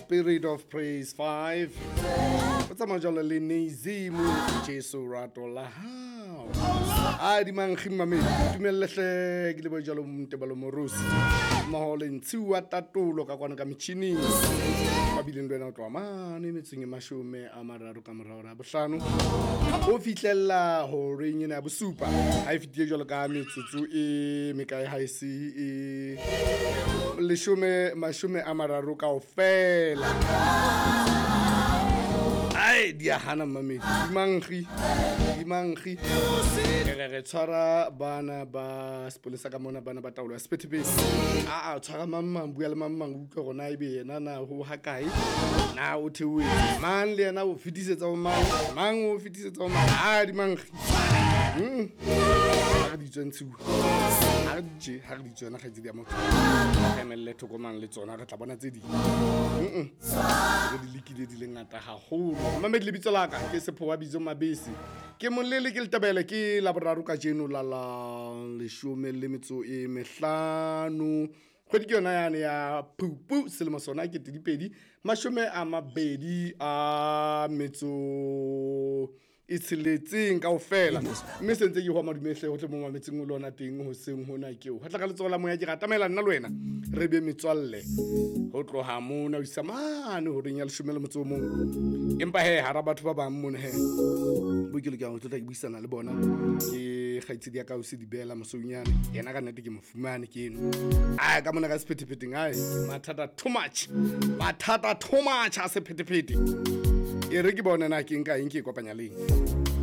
Spirit of Praise 5. O tsamaya jalo le Nezimu Jesu rato la hao. A di mankgi mmamedi, tumelle hle ke lebohe jalo Ntebalo Morusi. Mmoho le Ntshiwa Tatolo ka kwano ka metjhining. Ba bileng le wena ho tloha mane metsong e 30 ka mora hora ya bohlano. Ho fihlella horeng ena ya bosupa. Ha e fetile jwalo ka metsotso e mekae ha e se e leshome 30 kaofela. Ai di a hana mmamedi, di mankgi, di mankgi. Re re tshwara bana ba sepolesa ka mona, bana ba taolo ya sephethephethe. A tshwara mang mang, bua le mang mang, utlwe hore na ebe yena na ho ha kae, na o theohetse mang, le yena o fetisetsa ho mang, mang o fetisetsa ho mang. A di mankgi. Ha re di tswe ntshiwa, ha re di tje, ha re di tswe yona kgaitsedi ya motho. Re emelle thoko mang le tsona, re tla bona tse ding. Re di lekile di le ngata haholo. Mamedi, lebitso la ka ke Sephowa Bitso Mabese. Ke molele ke letebele ke Laboraro kajeno la la 15 kgwedi ke yona yane ya Phupu, selemo sona ke 2026 kaofela. Mme se ntse ke hwa madumehle ho tle mo mametseng o lona teng hoseng hona keo. Ho tla ka letsoho la moya ke ratamela nna le wena re be metswalle ho tloha mona ho isa mane horeng ya 11. Empa he hara batho ba bang mona he bo ke lokela ho tlotla ke buisana le bona ke kgaitsedi ya ka o se dibela Mosounyane. Yena ka nnete ke mo fumane ke eno. Ai ka mona ka sephetephetheng, ai mathata too much, mathata too much a sephetephete. E re ke bone na ke nka eng ke e kopanya leng.